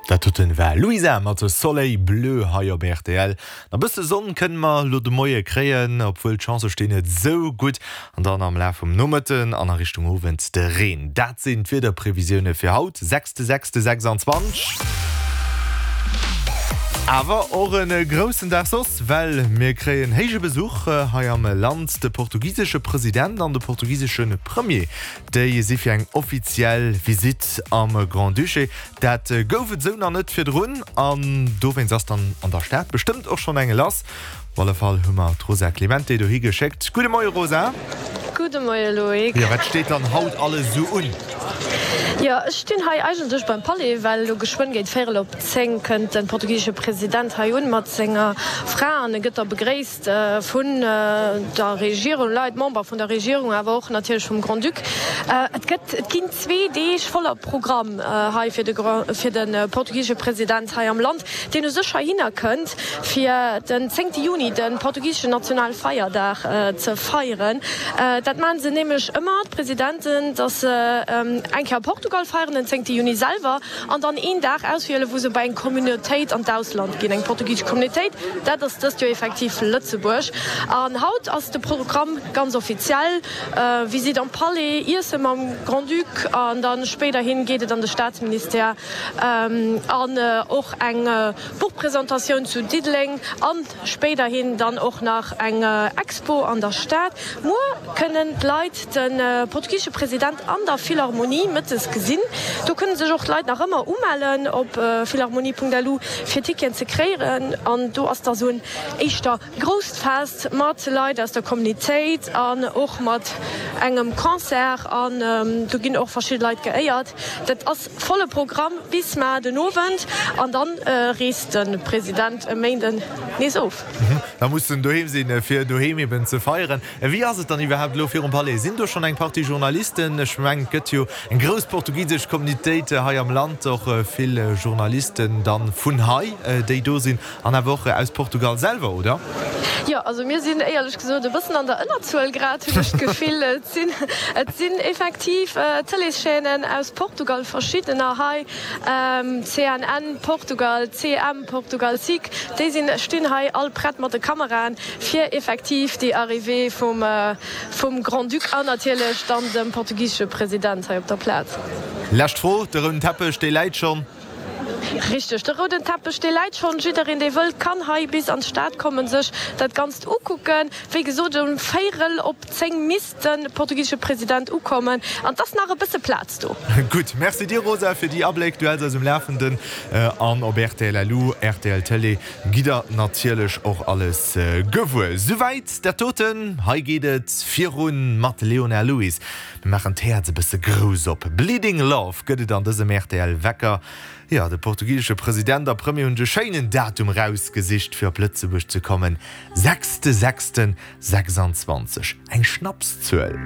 Dat doten war Louisa mat Soleil Bleu hei op rtl. Na bësse Sonn kënne mer lo de Moie kréien, obwuel d'Chancë stinn net sou gutt. An dann am Laf vum Nomëtten an a Richtung Owend de Reen. Dat sinn d'Wiederprevisioune fir haut, 6.6.26. Awer och e groussen Dag soss, well mir kréien héije Besuch hei am Land. De portugisesche President an de portugisesche Premier, déi si fir eng offiziell Visitt am Grand-Duché. Dat gouf et esou nach net virdrun an dowéinst ass dann an der Stad bestëmmt och schonn eng lass. Op alle Fall hu mer d'Rosa Clemente dohi geschéckt. Gudde Moie Rosa. Gudde Moie Loïc. Jo, wat steet dann haut alles esou un? Jo, ech stinn hei eigentlech beim Palais, well elo geschwënn géint véierel op 10 kënnt de portugisesche President hei un mat senger Fra an e gëtt da begréisst. Vun der Regierung, Leit, Member vun der Regierung, awer och natierlech vum Grand-Duc. Et gëtt, et ginn zwee Deeg voller Programm hei fir de, fir de portugisesche President hei am Land, deen u sech heihinner kënnt, fir den zéngte Juni, de portugiseschen Nationalfeierdag, ze feieren. Dat maache se nämlech ëmmer, d'Presidenten, datt se eng Kéier a Portugal feieren, den zéngte Juni selwer, An dann een Dag auswielen, wou se bei eng Communautéit an d'Ausland ginn, eng portugisesch Communautéit. Dat ass dëst Joer effektiv Lëtzebuerg. An haut ass de Programm ganz offiziell, Visitt am Palais, Iesse mam Grand-Duc an da spéiderhin geet et an de Staatsministère an och eng Buchpresentatioun zu Diddeleng an Spéiderhin dann och nach eng Expo an der Stad. Muer kënnen d'Leit de portugisesche President an der Philharmonie mëttes gesinn. Do kënne sech och d'Leit nach ëmmer umellen op philharmonie.lu fir Ticketen ze kréieren. An do ass da sou en éischter grousst Fest mat Leit aus der Communitéit an och mat engem Concert. An do ginn och verschidde Leit geéiert. Dat ass Volle Programm bis mar den Owend an dann reest de President e Méinden nees of. Da muss en doheem sinn, fir doheem eben ze feieren. Wéi ass et dann iwwerhaapt elo virum Palais? Sinn do schonn eng Partie Journalisten? Ech mengen, et gëtt jo eng grouss portugisesch Communitéit hei am Land, och vill Journalisten dann vun hei, déi do sinn. An awer och aus Portugal selwer, oder? Jo, also mir sinn éierlech gesot e bëssen an der Ënnerzuel grad, hunn ech d'Gefill. Et sinn, et sinn effektiv Tëleeschaînen aus Portugal, verschiddener hei, CNN Portugal, CM Portugal, sic, déi sinn, stinn hei all prett mat de Kameraen, fir effektiv déi Arrivée vum, vum Grand-Duc an natierlech dann dem portugisesche President hei op der Plaz. Lescht Fro, De rouden Teppech, dee läit schonn. Richteg, de rouden Teppech, dee läit schonn. Jiddereen, dee wëllt, kann hei bis an d'Stad kommen, sech dat Ganzt ukucken. Wéi gesot, um véierel op 10 misst de portugisesche President ukommen an 't ass nach e bësse Plaz do. Gutt, Merci dir Rosa fir déi Abléck. Du häls eis um Lafenden an op rtl LU, rtl Télé gitt der natierlech och alles gewuer. Souwäit dat doten. Hei geet et virun mat Leona Lewis. Mir maachen d'Häerz e bësse grouss op. Bleeding Love gëtt et an dësem rtl Wecker. Jo, de portugisesche President a Premier hunn sech e schéinen Datum rausgesicht fir op Lëtzebuerg ze kommen, sechste sechsten 26, eng Schnapszuel.